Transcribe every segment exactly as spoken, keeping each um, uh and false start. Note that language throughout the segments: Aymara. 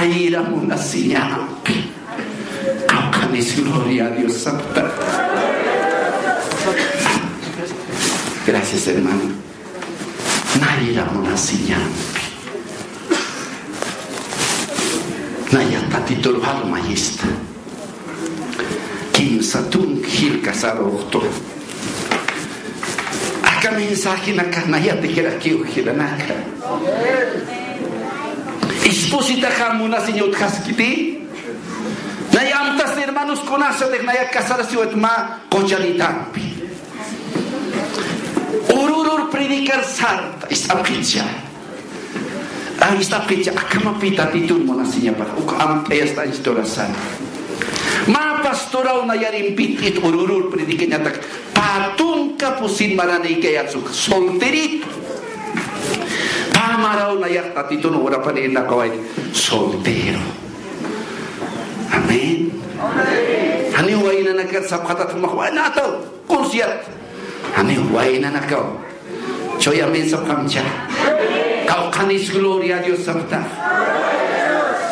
Nayra munasiñampi. Qawqhanis gloria a Dios sapta. Gracias, hermano. Nayra munasiñampi. Naya Tatitur almayista. Kimsa tunka jilkasarux tu. Aka mensajenaka nayatikirak jilanaka. Espositaxa munasiñ utjaskiti. Nay amtas hermanos kunasatix naya casarasiwayt mä quchanitampi. Ururur predicar sarta, ist'apxicha. Ay, ist'apxicha, akhamapi Tatitun munasiñapax, uk amt'ayasta historia sara. Mä pastoraw nayarimpit it ururur predicañatak, pä tunka pusin maranïkayatsu, solterito. Pä maraw nayax Tatitun urapanïnakaway, soltero. Amén. Janiw waynanakar sapxatat jumax waynataw. Concierto. Janiw waynanakaw. Chuya amén sapxamcha. Qawqhanis gloria a Dios sapxta.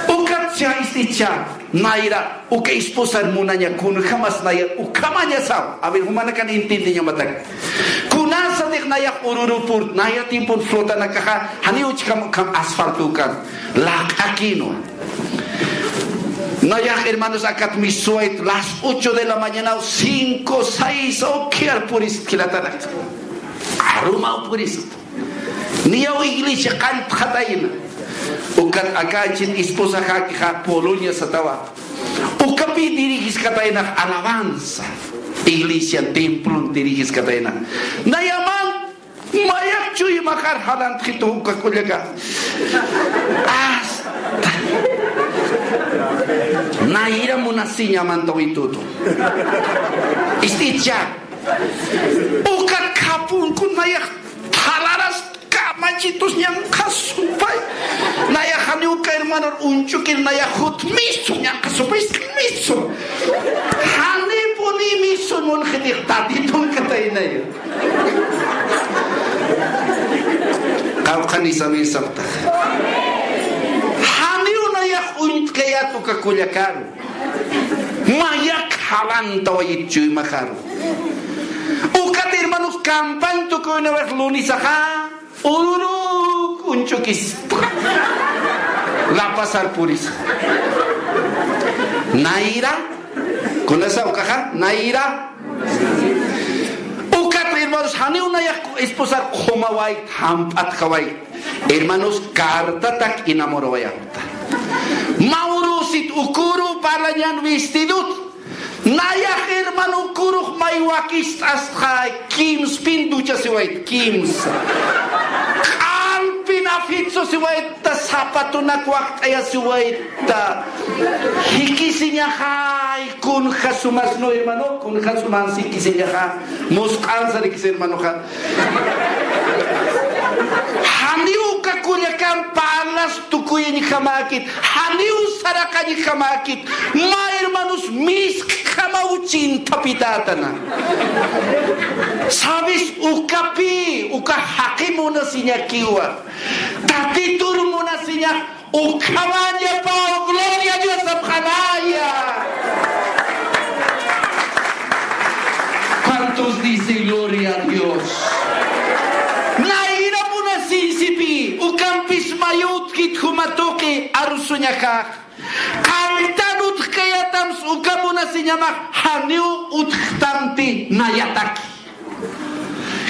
Ukatcha ist'icha, nayra, uka esposar munaña kunjamas nayar, ukhamañasaw. A ver, jumanakan entiendeñamatak. Kunasatix nayax ururupur, naya tiempon flotanakaxa, janiw uchkham ukham asfalto ukan. Laq'akinwa. Nayax, hermanos, akat misuwayt las ocho de la mañana, cinco, seis, ukhiyar purist jilatanak. Arumaw purist. Niyaw iglesia qalltxatayna. Ukat aka anchit esposaxakixa Polonia satawa. Ukapi dirigiskataynax alabanza. Iglesia templon dirigiskatayna. Nayaman Mayak chuymaxar jalantxitu uka kullaka. Asta. Nayra munasiñamantawitutu. Ist'icha. Uka khapunkun nayax thalaras kamachitus ñanqhasupay. Nayax jani uka hermanor uñch'ukir nayax jut misu ñanqhasupay, misu. Janipuni misu munxitix Tatitun kataynaya. Qawqhanis amén sapxtax. Janiw nayax uñt'kayät uka kullakaru. Mayak jalantawayit chuymaxaru. Ukat hermanos, campaña tukuynawayx lunisaxa. Ururuk uñch'ukis. La Pazar purisa. Nayra. Kunasa ukaxa, nayra. Ukat, hermanos, janiw nayax esposar qhumawayt, jamp'atjawayt. Hermanos, cartatak enamorawayapxta. Mä urusit ukuru parlañan vestidot. Nayax hermano ukurux may wakist'astxay, kimspin duchasiwayt, kimsa. Q'alpin afitsusiwaytta, zapatunak wakt'ayasiwaytta. Jikisiñaxay, kunja sumas, no hermano, kunja sumas jikisiñaxa. Musq'ansarikis hermanoxa. Janiw uka kullakan parlas tukuyañjamäkit, janiw saraqañjamäkit, mä hermanos misk'jamaw chinthapitätana. Sabes, ukapi, uka jaqi munasiñakiwa. Tatitur munasiñax Ukhamañapaw, gloria a Dios, sapxanaya. ¿Cuántos dicen gloria a Dios? Nayra munasiñsipi, ukampis mayut jit juma tuqi arusuñaxax. Qalltan utjkayätamsa uka munasiñamax janiw utjtanti nayataki.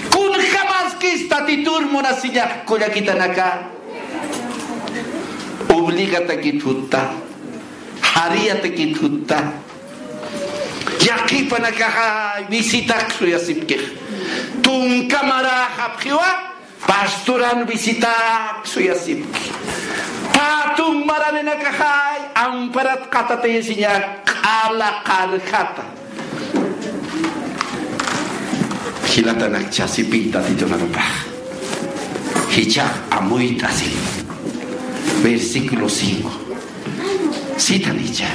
Kunjamaskis Tatitur munasiñax kullakitanaka. Obligatakit jutta, jariyatakit jutta. Yaqhipanakaxa visitak suyasipkix. Tunka maräxapxiwa, pastoran visitak suyasipki. Pä tunk maraninakaxay amparat qatatayasiña q'ala qarjata. Jilatanakchasipï Tatitunakapax. Jichhax amuyt'asim. Versículo cinco. Sitan jichha.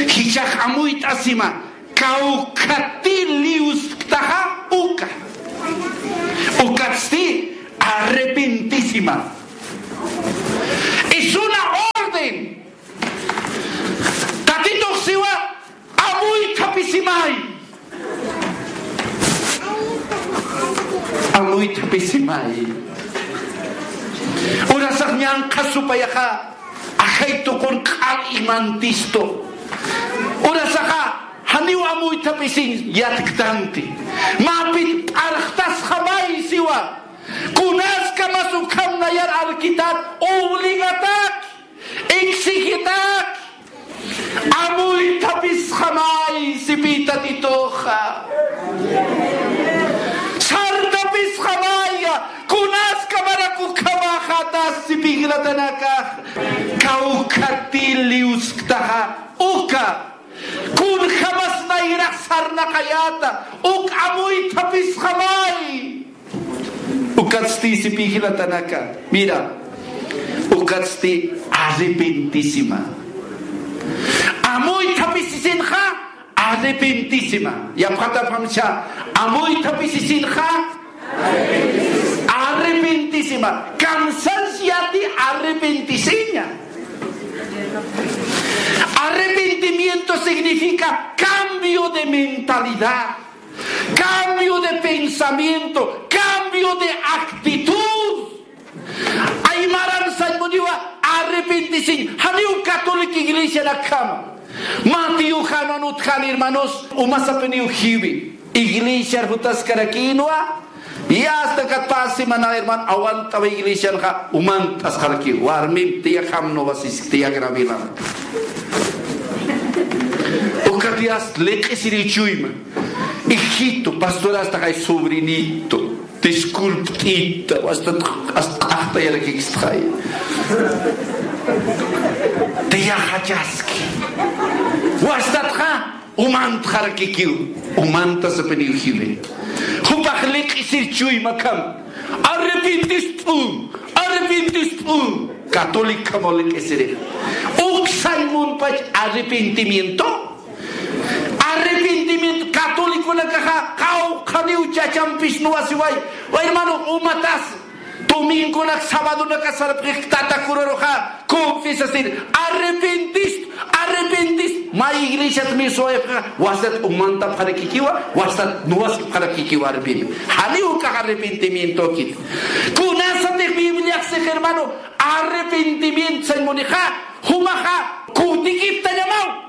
Jichhax amuyt'asima, kawkhati liwsktaxa uka. Ukatsti arrepentisima. Es una orden Urasax ñanqha supayaxa, ajay tuqun q'al imantistu. Urasaxa, janiw amuythapisiñ yatktanti. Mä pit p'arxtasxamay siwa. Kunaskamas ukham nayar arkitat, obligatak, exigitak. Amuythapisxamay sipï Tatituxa. Sarthapisxamaya, kunaskamarak ukhamäxätas sipï jilatanakax. Kawkhatï liwsktaxa uka. Kunjamas nayrax sarnaqayäta, uk amuythapisxamay. Ukatsti sipï jilatanaka. Mira. Ukatsti arrepentisima. Amuythapisisinxa arrepentisima. Yapxatapxamcha, amuythapisisinxa arrepentisima. Kamsañchati arrepentisiña. Arrepentimiento significa cambio de mentalidad. Cambio de pensamiento, cambio de actitud. Aymaran sañ muniwa arrepentisiñ, janiw católica iglesianakjama. Mateo Janan utjani, hermanos, umasapiniw jiwi. Iglesiar jutaskarakïnwa, y hasta kat pä semana, hermano, aguantawa iglesianxa, umant'asxarakiw. Warmim, tía, jam no vas a, tía, gravilam. Ukat yast liq'isiriw chuyma. Hijito, pastor, hasta kay sobrinito, disculptita, hasta, hasta, hasta yarakikistxay. Tiyaxachaski. Wastatxa, umantxarakikiw, umantasapiniw jiwi. Jupax liq'isir chuymakham. Arrepentisp'un, arrepentisp'un. Católico khamaw liq'isiri. Uksañ munpach arrepentimiento. Arrepentimiento católiconakaxa, qawqhaniw chachampis nuwasiway. Way hermano, umatas, domingonak, sabadonaka sarapxix tata curaruxa, confesasir, arrepentist, arrepentist, mä iglesiat miswayapxa, wastat umantapxarakikiwa, wastat nuwasipxarakikiwa arrepentist. Janiw ukax arrepentimiento kit. Kunasatix Bibliax six, hermano, arrepentimiento sañ munixa, jumaxa, kutikiptañamaw.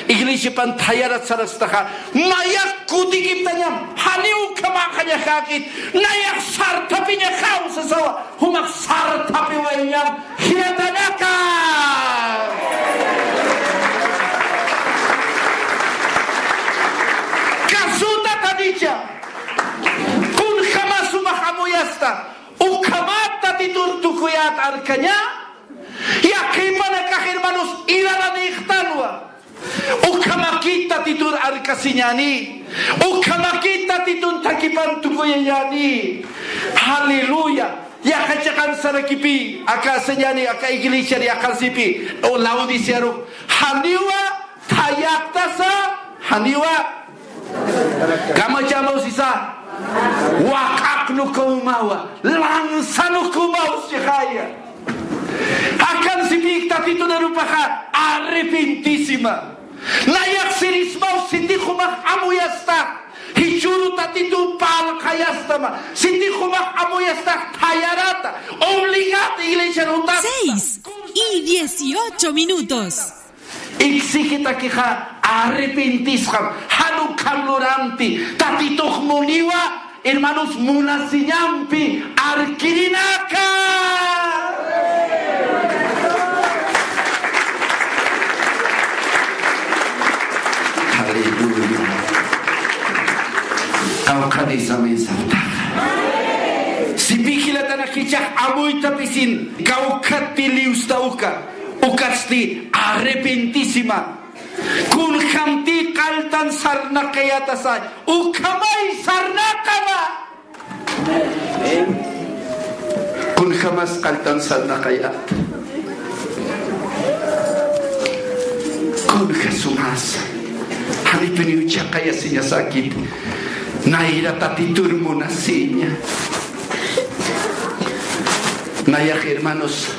Iglesiapan thayarat sarastaxa, nayax kutikiptañam, janiw ukhamäxañaxäkit, nayax sarthapiñaxaw sasawa, jumax sarthapiwayañam, jilatanaka. Kasuta tanicha, kunjamas jumax amuyasta, ukhamat Tatitur tukuyät arkaña, yaqhipanakax hermanos, iraranïxtanwa. Ukhamakit Tatitur arkasiñäni. Ukhamakit Tatitun thakipan tukuyañäni. Aleluya. Yaqha chiqan sarakipï, aka sañäni, aka iglesiar yaqhasipï, o Laodicearu. Janiwa thayaptasa, janiwa kamachamaw sisa, waq'aqnukaw umawa, lanzanukaw umaw sixaya. Akan sipïk Tatitun arupaxa arrepentisima. Nayax sirismaw sitix jumax amuyastax, jichhüru Tatitu parlqayastama, sitix jumax amuyastax thayarata, obligata iglesiar jutasta. Seis y dieciocho minutos. Exigitakixa arrepentisxam, jan ukham lurampi, Tatitux muniwa, hermanos, munasiñampi arkirinaka. Aleluya. Kawkhanïsam saptaxa. Sipï jilatanaka, jichhax amuythapisin, kawkhatï liwsta uka. Ukatsti arrepentisima. Kunjamtï qalltan sarnaqayätasa, ukhamay sarnaqama. Kunjamas qalltan sarnaqayät. Kunja sumasa. Janipiniw chhaqayasiñasäkit. Nayra Tatitur munasiña. Nayax, hermanos,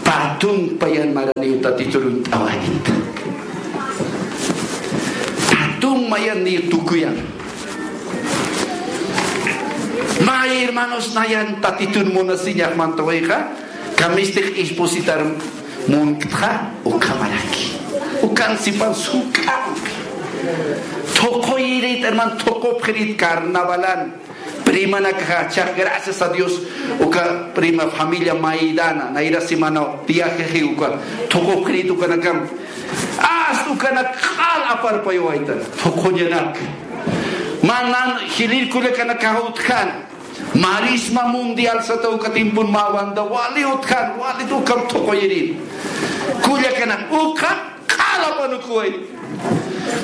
pä tunka payan maraniw Tatitur uñt'awayta. Pä tunka mayan niy tukuyan. Ay, hermanos, nayan Tatitun munasiñax mantawayxa, kamistix espositar munktxa, ukhamaraki. Ukan sipan suk'ampi. Thuquyirït, hermano, thuqupxirït carnavalan. Primanakaxa, chax, gracias a Dios, uka prima familia Maidana, nayra semana viajeji uka, thuqupxirït ukanakam. Hasta ukanak q'al aparpayawaytan, thuquñanak. Mä nan jilïr kullakanakax utjan. Marisma mundial sata uka tiempon mä banda wali utjan, wali ukam thuquyirïn. Kullakanak uka q'al apanukuway.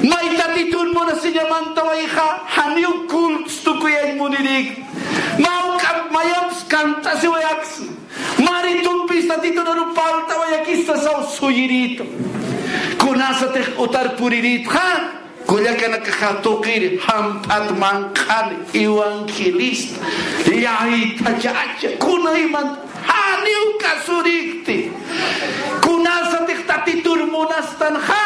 May Tatitun munasiña mantawayxa, janiw cultos tukuyañ munirïk. Mä uka mayamps cantasiwayaks. Mä ritumpis Tatitun aru parltawayakista saw suyirïtu. Kunasatix utar purirïtxa, kullakanakaxa tuqir jamp'at manq'an evangelista, llaythachacha, kunayman janiw kasurïkti. Kunasatix Tatitun munastanxa,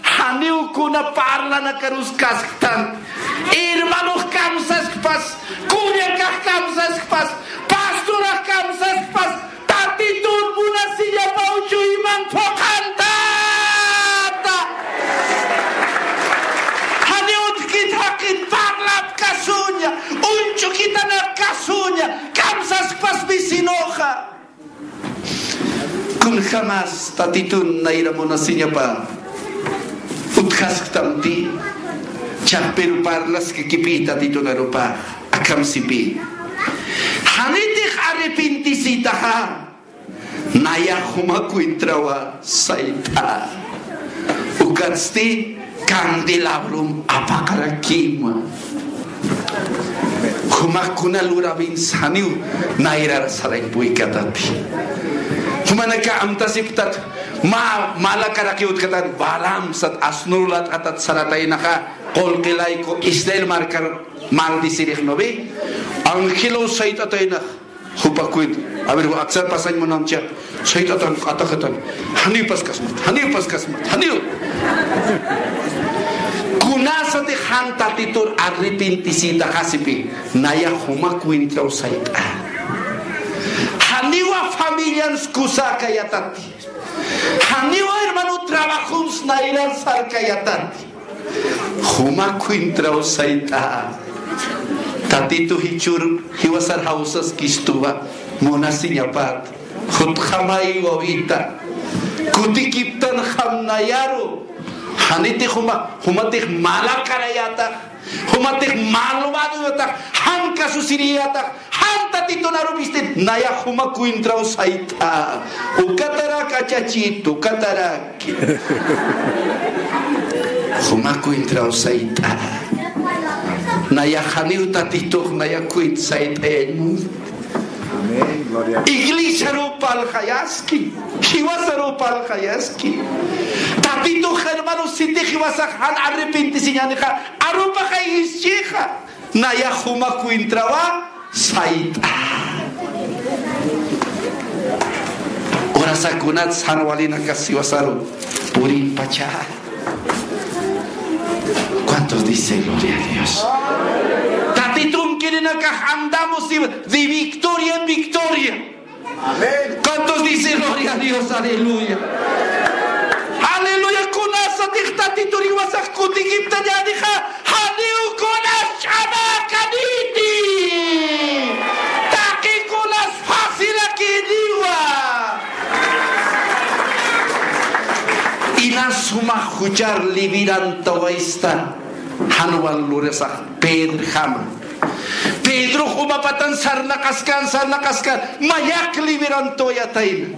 janiw kuna parlanakarus kasktan. Hermanox kamsaskpas, kullakax kamsaskpas, pastorax kamsaskpas, Tatitun munasiñapaw chuyman phuqhantata. Janiw utjkit jaqin parlap kasuña, uñch'ukitanak kasuña, kamsaskpas vecinoxa. Kunjamas Tatitun nayra munasiñapa utjasktamti, chax pero parlaskakipï Tatitun arupax, akham sipï. Janitix arrepintisitaxa, nayax juma cuentrawa sayt'a. Ukatsti candelabrum apaqarakima. Jumax kuna lurawins janiw nayrar sarañ puykatati. Jumanaka amtasiptat mä malakarakiw utjkatan, Balaam sat asnur lat'atat sarataynaxa, qullqi layku Israel markar maldecirix, ¿no ve? Angelow sayt'ataynax. Jupa cuenta. A ver, aksar pasañ munamcha. Sayt'atan, q'ataxatan. Janiw paskasmat, janiw paskasmat, janiw. Kunasatix jan Tatitur arrepentisitaxa sipï, nayax juma cuentraw sayt'a. Janiwa familians kusäkayatati. Janiwa hermano trabajons nayrar sarkayatati. Juma cuentraw sayt'a. Tatitu jichhür jiwasar jawsaskistuwa, munasiñapat. Jutxamay wawita. Kutikiptanxam nayaru. Janitix juma, jumatix malakarayatak. Jumatix malvadoyatax, jan kasusiriyatax, jan Tatitun arup ist'it, nayax juma cuentraw sayt'a. Ukatarak achachitu, ukatarak. Juma cuentraw sayt'a. Nayax janiw Tatitux, nayax cuent sayt'ayañ. Amén, gloria a Dios. Iglesiaruw parlxayaski, jiwasaruw parlxayaski. Tatitux hermano, siti jiwasax jan arrepentisiñänixa, arupaxay jisch'ixa. Nayax juma cuentrawa sayt'a. Urasa kunats jan walinakas jiwasaru purimpacha. ¿Cuántos dicen gloria a Dios? Tatitun kirinakax andamos de, de victoria en victoria. Amén. ¿Cuántos dicen gloria a Dios? Aleluya. Aleluya. Kunasatix Tatitur jiwasax kutikiptañänixa, janiw kunas ch'amakaniti. Taqi kunas facirakiniwa. Inas jumax juchar liberantawaysta, jan wal lurasax Pedrjama. Pedro jumapatan sarnaqaskan, sarnaqaskan, mayak liberantawayatayna.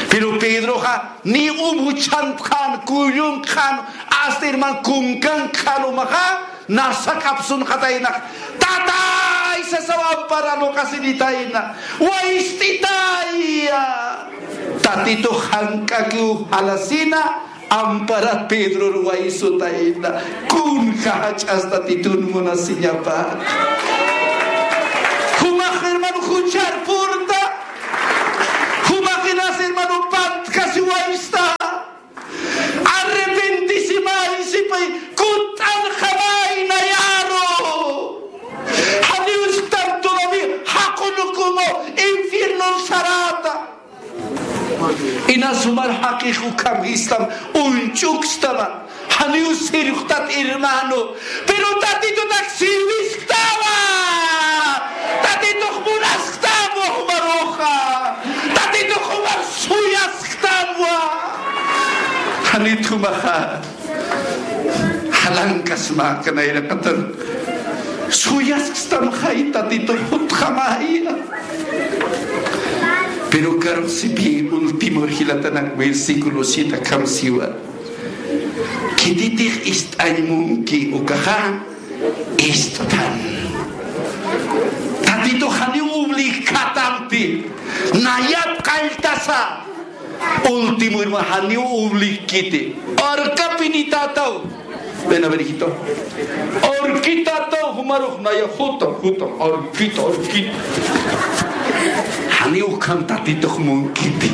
Pero Pedroxa ni um juchhantxän, kullunkxän, hasta herman kunkankxän umaxa, nasa k'apsunxataynax. Tatay sasaw amparanuqasinitayna. Wayst'itaya. Tatitux jank'akiw jalasina, amparat Pedror waysutayna. Kunja jach'as Tatitun munasiñapat. Jumax hermano juchar purta. Jumax inas hermano pantkasi waysta. Arrepentisimay sipay, kutt'anxamay nayaru. Janiw isktan todavía Jaqix ukham sistam, uñch'ukstama. Janiw sirwxtat, hermano. Pero Tatitutak sirwisktawa. Tatitux munasktama jumaruxa. Tatitux jumar suyasktamwa. Janit jumaxa jalankasma, aka nayraqatar suyasktamxay Tatitux jutxamaya. Pero karux sipï último jilatanak versículo siete akham siwa. Khititix ist'añ munki ukaxa ist'tan. Tatitux janiw obligkatampi, nayat qalltasa. Último, hermano, janiw obligkiti. Arkapinitätaw. Ven a ver, hijito. Arkitätaw, jumarux naya jutam, jutam, arkita, arkita. Janiw ukham Tatitux munkiti.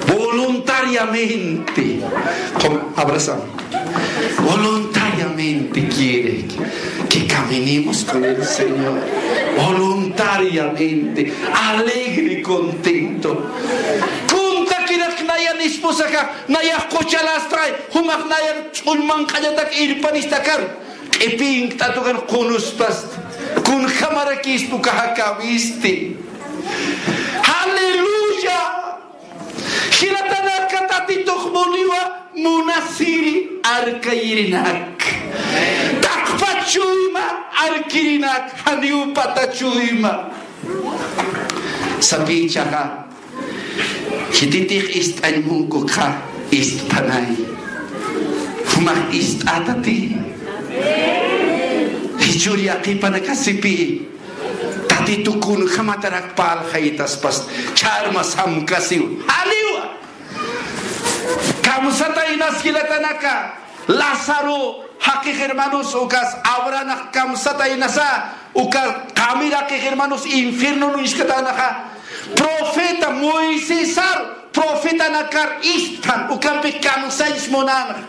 Voluntariamente. Como abrazamos. Voluntariamente quiere que caminemos con el Señor. Voluntariamente, alegre y contento. Kuntakirak nayan esposaxa, nayax quchalastay, jumax nayan ch'uñ manq'añatak irpanistakar, q'ipinkt'atukan qunuspasti, kunjamarakispa ukax akäwisti. Aleluya. Jilatanaka, Tatitux muniwa munasiri arkayirinak. Taqpach chuyma arkirinak, janiw pata chuyma. Sapïchaxa, khititix ist'añ munkukxa ist'panay. Jumax ist'atati. Jichhür yaqhipanaka sipï. Tatitu kunjamatarak parlxaytaspas, ch'arma samkasiw. Janiwa. Kamsataynas jilatanaka, Lázaro jaqix hermanos ukas, Abrahamx kamsataynasa, uka qamiraqix hermanos infiernon uñskatanaxa. Profeta Moisesar, profetanakar ist'pan, ukampi kamsañs munanx.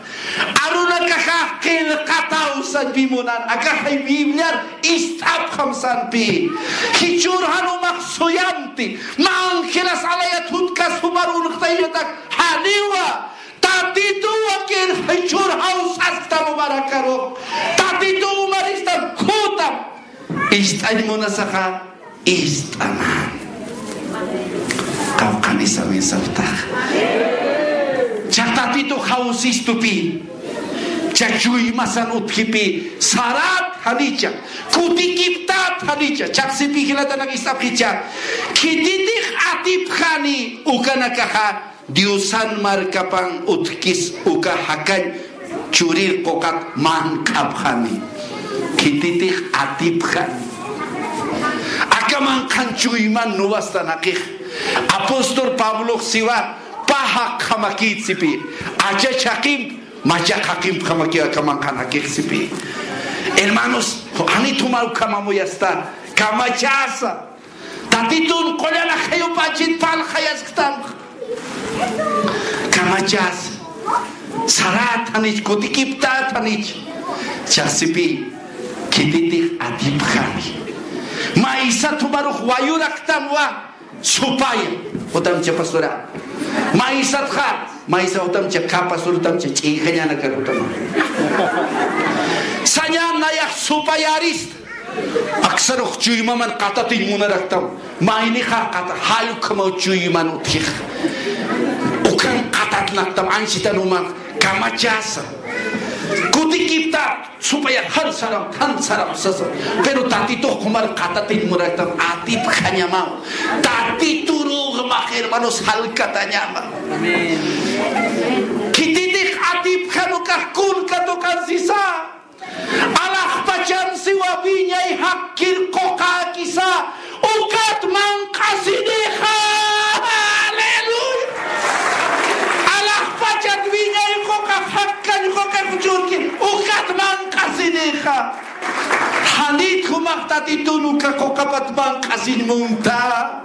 Arunakaxa qillqataw sañpi munan, akaxay Bibliar ist'apxam sañpi. Jichhür jan jumax suyamti, mä angelas alayat jutkas jumar unxtaynatak, janiwa. Tatituwa, jichhür jawsasktam jumarakaru. Tatitu jumaristam jutam. Ist'añ munasaxa ist'ama. Qawqhanisa, amén sapxtax. Cha Tatitux jawsistupï. Cha chuymasan utjipï. Sarat janicha. Kutikiptat janicha. Chaqsipï jilatanak ist'apxicha. Khititix atipxani ukanakaxa. Diosan markapan utjkis uka jakañ churir quqat manq'apxani. Khititix atipxani. Aka manqhan chuyman nuwastanakix. Apóstol Pablox siwa, pä jaqjamakït sipï. Achach jaqimp, machaq jaqimpjamakiw aka manqhan jakix sipï. Hermanos, janit juma ukham amuyasta, kamachasa. Tatitun qullan ajayupachit parlxayasktam. Kamachas. Sarat janich, kutikiptat janich. Chaqsipï, khititix atipxani. Maysat jumarux wayuraktamwa, supaya. Jutamcha pastora. Maysatxa, maysa jutamcha, ka pastor jutamcha, ch'injañanakar jutama. Sañan nayax supayarist. Aksarux chuymaman qatatiñ munaraktam. Maynixa qata, jall ukhamaw chuyman utjix. Ukhan qatatnaktam, anchitan uman kamachasa. Kutikipta, supaya jan saram, jan saram sasa. Pero Tatitux jumar qatatiñ munaraktam, atipxañamaw. Tatiturux max hermanos jalkatañama. Amén. Khititix atipxan ukax kun katuqan sisa. Alaxpachan siwa wiñay jakkir quqäkisa, ukat manq'asinixa. Aleluya. Alaxpachat wiñay quqax jakkañ quqax uchurki, ukat manq'asinixa. Janit jumax Tatitun uka quqapat manq'asiñ munta.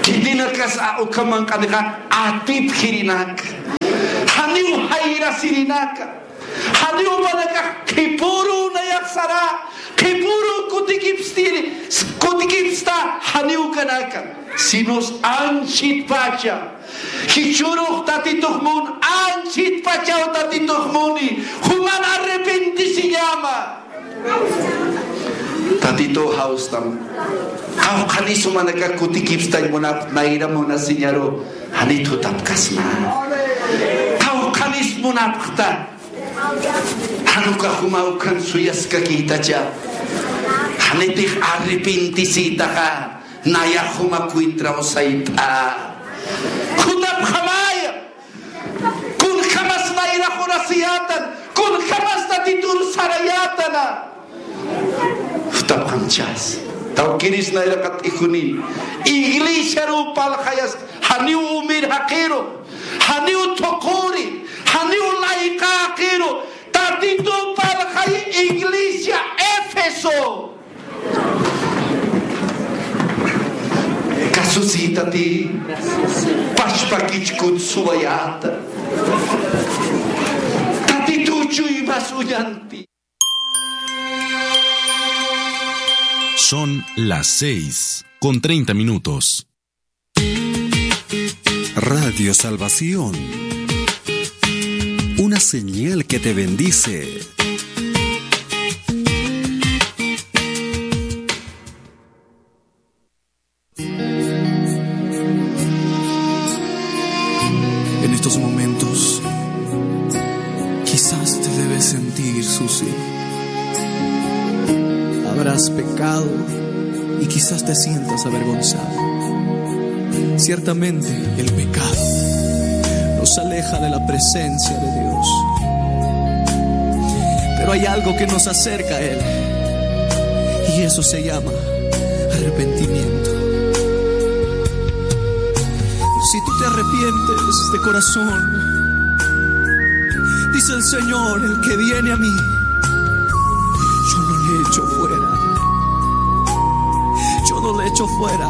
Khitinakas a uka manq'anixa atipxirinak. Janiw jayrasirinaka. Janiw jupanakax qhipüru nayax sara, qhipüru kutikipstiri, kutikipsta, janiw kanaka. Sinus anchitpacha. Jichhürux Tatitux mun, anchitpachaw Tatitux muni. Juman arrepentisiñama. Tatituw jawstam. Qawqhanis jumanakax kutikipstañ munapxta, nayra munasiñaru, janit jutapkasma. Qawqhanis munapxta. Jan ukax juma ukan suyaskakïtacha. Janitix arrepentisïtaxa, nayax juma cuentraw sayt'a. Jutapxamaya. Kunjamas nayrax urasiyätan, kunjamas Tatitur sarayätana. Jutapxamchas. Tawkiris nayraqat ijuni. Iglesiaruw parlxayas, janiw umir jaqiru, janiw thuquri, janiw layqa jaqiru. Tatituw parlxay iglesia Éfeso. Kasusïtati, pachpakich kutsuwayäta. Tatituw chuymas uñanti. Son las seis con treinta minutos. Radio Salvación. Una señal que te bendice. En estos momentos, quizás te debes sentir sucio. Habrás pecado y quizás te sientas avergonzado. Ciertamente, el pecado nos aleja de la presencia de Dios. Pero hay algo que nos acerca a Él. Y eso se llama arrepentimiento. Si tú te arrepientes de corazón, dice el Señor, el que viene a mí, yo no le echo fuera. Yo no le echo fuera.